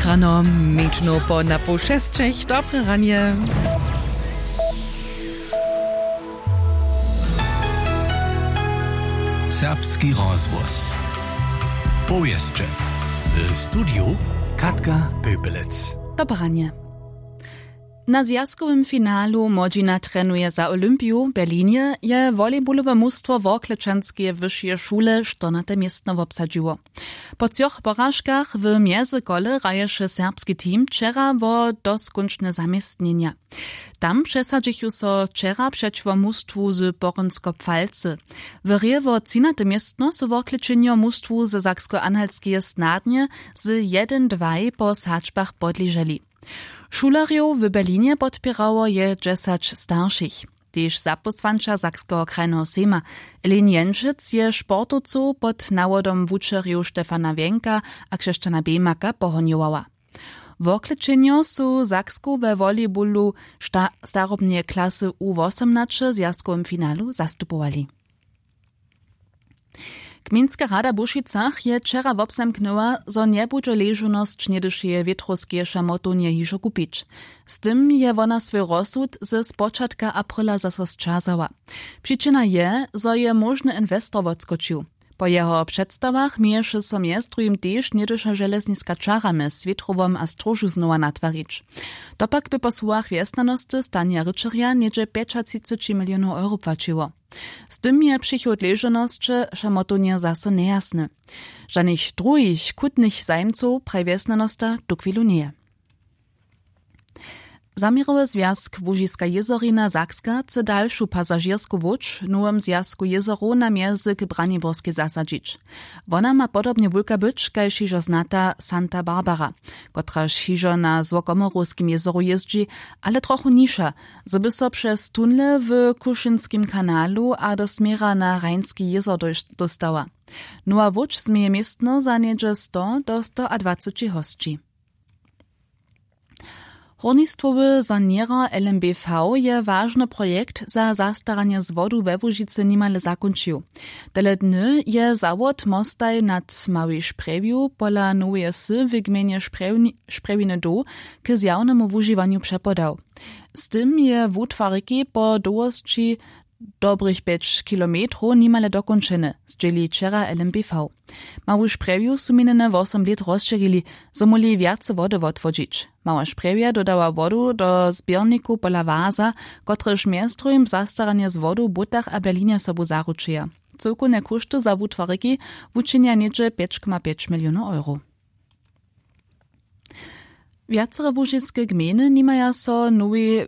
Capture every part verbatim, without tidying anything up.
Rano, mjeńšinow po na poł šesćech. Dobre ranje. Serbski rozhłos. Powěsće. W studiju Katka Pöpelec. Dobre ranje. Na zwjazkowym finalu Młodźina trenuje za Olympiju w Berlinje je volejbolowe mustwo Worklečanskeje wyšeje šule štyrnate městno wobsadźiło. Po třoch poražkach w mjezykole hraješe serbski team wčera wo doskónčne zaměstnjenja. Tam přesadźichu so wčera přećiwo mustwu z Porynskopfalcy. W hrě wo třinate městno su Worklečenjo mustwu ze Saksko-Anhaltskeje snadnje z jedyn dwaj po sadźbach podleželi. Šulerjow w Berlinje podpěrało je dźesać staršich. Tež zapósłanča Sakskeho krajneho sejma Elin Jenčec je sportowcow pod nawodom wučerjow Stefana Wjenka a Křešćana Bejmaka pohonjowała. Worklečenjo su Saksku we volejbolu sta-, starobneje klasy U wosomnaće w zwjazkowym finalu zastupowali. Gmejnska rada w Bušicach je wčera wobzamknyła, zo njebudźe ležownosć něhdyšeje wětrowskeje šamotownje hižo kupić. Z tym je wona swój rozsud ze spočatka aprila zaso sćazała. Přičina je, zo je móžny inwestor wotskočił. Po jeho předstawach měješe so mjez druhim tež něhdyša železniska čara mjez wětrowom a stróžu znowa natwarić. To pak by po słowach wjesnjanosty Stanja Ryćerja něhdźe pjećatřiceći milionow euro płaćiło. Z tym je přichod ležownosće šamotownje zaso njejasny. Žanych druhich chutnych zajimcow, praji wjesnjanosta, tuchwilu njeje. Zaměrowy zwjazk Łužiska jězorina Sakska chce dalšu pasažěrsku łódź w nowym zwjazku jězorow na mjezyk Braniborskej zasadźić. Wona ma podobnje wulka być kaž hižo znata Santa Barbara, kotraž hižo na złokomorowskim jězoru jězdźi, ale trochu nižša, zo by so přez tunle w Kušinskim kanalu a do směra na Rajnski jězor dóš-, dóstała. Nowa łódź změje městno za něhdźe sto do stoadwaceći hosći. Hórnistwowy saněrer L M B V je wažny projekt za zastaranje z wodu we Łužicy nimale zakónčił. Tele dny je zawod mostaj nad Małej Šprjewju pola noweje wsy w gmejnje Šprjewni-, Šprjewiny doł k zjawnemu wužiwanju přepodał. Z tym je wutwar rěki po dołhosći dobrych pjeć kilometrow nimale dokónčeny, zdźěli wčera L M B V. Mału Šprjewju su minjene wosom lět rozšěrili, zo móhli wjace wody wotwodźić. Mała Šprjewja dodała wodu do zběrnikow pola Waza, kotrež mjez druhim zastaranje z wodu w Butach a Berlinje sobu zaručuja. Cyłkownje kóšty za wutwar rěki wučinja něhdźe pjeć koma pjeć milionow euro. Wjacere łužiske gmejny nimaja so nowej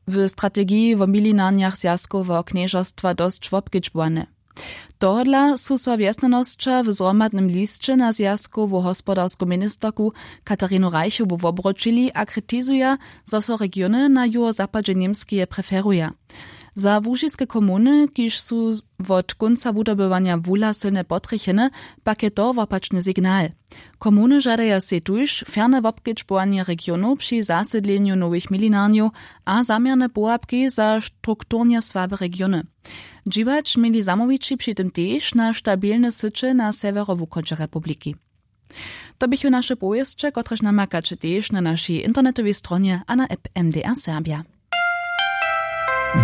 w strategiji wo milinarnjach zwjazkoweho knježerstwa dosć wobkedźbowane. Tohodla su so wjesnjanosća w zhromadnym lisće na zwjazkowu hospodarsku ministerku Katarinu Reichowu wobroćili a kritizuja, zo so regiony na juhozapadźe Němskeje preferuja. Za łužiske komuny, kiž su wot kónca wudobywanja wula sylnje potrjechene, pak je to wopačny signal. Komuny žadaja sej tuž ferne wobkedźbowanje regionow při zasydlenju nowych milinarnjow a zaměrne połapki za strukturnje słabe regiony. Dźiwać měli zamołwići při tym tež na stabilne syće na sewjerowuchodźe republiki. To běchu naše powěsće, kotrež namakaće tež na našej internetowej stronje a na app M D R Serbja.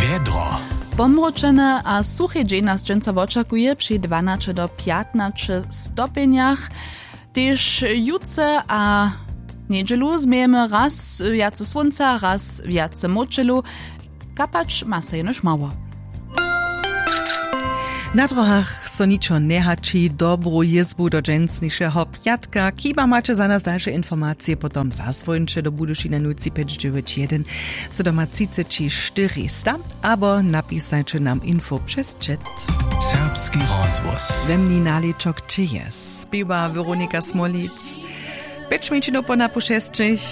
Wjedro. Pomročene a suchej dźeń nas dźensa wočakuje při dwanaće do pjatnaće stopjenjach. Tež jutře a njedźelu změjemy raz wjace słónca, raz wjace mróčelu. Kapać ma so jenož mało. Na dróhach so ničo njehaći. Dobru jězbu do dźensnišeho pjatka. Kiba maće za nas dalše informacije, potom zazwońće do Budyšina nul tři pjeć dźewjeć jedyn, sydomatřiceći štyristo, abo napisajće nam info přez chat. Serbski rozhłos. Zemni nalěčok će je spěwa Weronika Smolic. Pjeć mjeńšinow po na po šesćich.